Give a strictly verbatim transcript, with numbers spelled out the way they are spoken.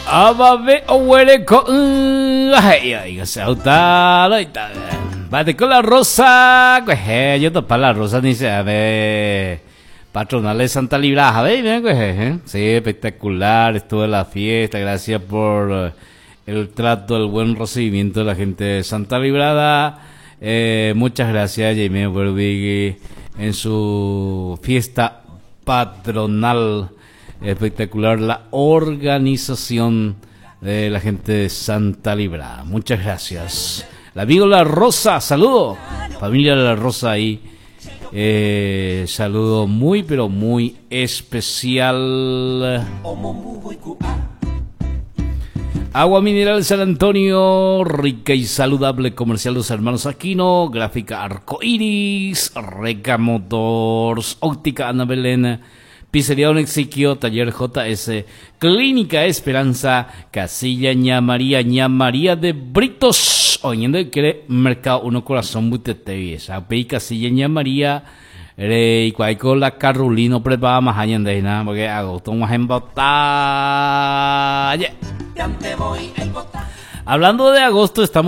Avave oguereko la Rosa, yo topa la Rosa ni se ve patronal de Santa Librada, ¿eh? Sí, espectacular, estuvo la fiesta, gracias por el trato, el buen recibimiento de la gente de Santa Librada. Eh, muchas gracias, Jaime Bervigui, en su fiesta patronal. Espectacular la organización de la gente de Santa Librada. Muchas gracias. El amigo La Rosa, saludo. Familia La Rosa ahí. Eh, saludo muy, pero muy especial. Agua Mineral San Antonio, rica y saludable, comercial Los Hermanos Aquino, gráfica Arco Iris, Reca Motors, óptica Ana Belén, Pizzería Don Exiquio, Taller J S, Clínica Esperanza, Casilla Ña María, Ña María de Britos, oyendo que Mercado Uno Corazón Butete, esa Casilla Ña María, y cuál la Carolino prepara más allá de nada, porque agosto más en batalla. Hablando de agosto, estamos